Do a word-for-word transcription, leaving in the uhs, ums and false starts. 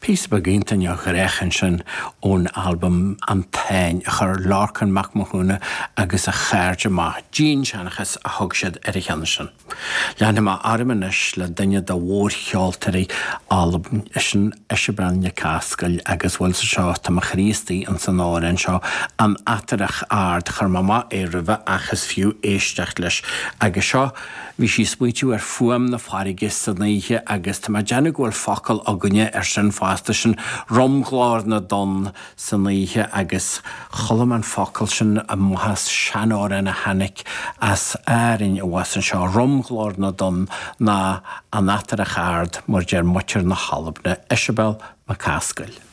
Píosa beag iontach neamhghnách ansin ón albam An Táin a chuir Lorcán Mac Mathúna agus a chairde amach, Dianseanchas a thug siad ar an cheann sin. Leanfaidh mé orm anois le duine de mhórcheoltóirí Albain, sin Iseabail Nic Asgail agus bhuel sa seo tá mo chroí istigh ins an amhrán seo, An Fhatarach Ard, chuir mé amach é roimhe ach is fiú éisteacht leis agus seo bhí sí ag smaoitiú ar fuaim na farraige san oíche agus tá mé ag déanamh go bhfuil focal againne ar sin fosta, sin romghlór na dtonn san oíche agus chuala mé an focal sin amach as seanamhrán a tháinig as Árainn abhus anseo, romghlór na dtonn ná an Fhatarach Ard mar deir muintir na hAlban, Iseabail MacAskill.